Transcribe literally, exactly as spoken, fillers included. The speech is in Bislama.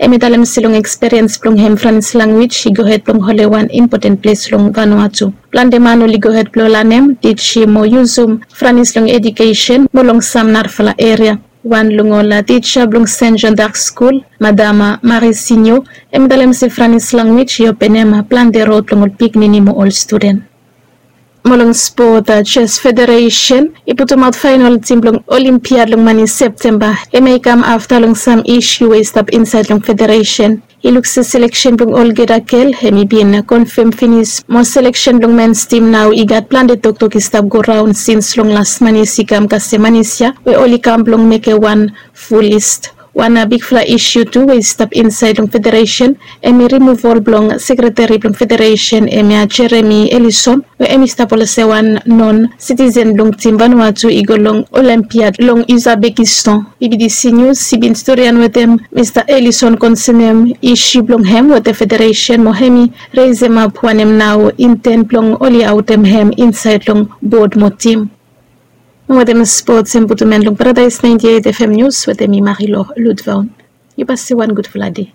Hem i talem se long eksperiens blong hem Franis lanwis i gohed blong holem wan impoten ples long Vanuatu. Plante man oli gohed blong lanem, tijim o yusum Franis long edikesen mo long sam narafala eria. Wan long ol tija blong Sen Jon Dak Skul, Madam Marisinio, hem i talem se Franis lanwis i openem plante rod blong ol pikinini mo ol studen. Mo long spot, Jes Federesen i putumaot faenol tim blong Olimpiad long man i Septemba. Hem i kam afta long sam isu we i stap insaed long federesen. I luk se seleksen blong olgeta gel hem i bin konfam finis mo seleksen blong mens tim nao i gat plante toktok i stap goraon sins long las man i sikam kasem man i sia we oli kam blong mekem wan ful list. Wan bigfala isu tu we i stap insaed long federesen hem i rimuval blong sekreteri blong federesen hem ya Jeremi Elison we hem i stap olsem wan non sitisen blong tim Vanuatu i go long Olimpiad long Uzbekistan. B B D C News i bin storian wetem Mista Elison konsenem isu blong hem wetem federesen mo hem i resemap wanem nao inten blong oli aotem hem insaed long bod mo tim. Wetem spots hem putum en long Paradaes ninety eight F M News wetem mi Marilo Ludvaon. Yu basi wan gudfala dei.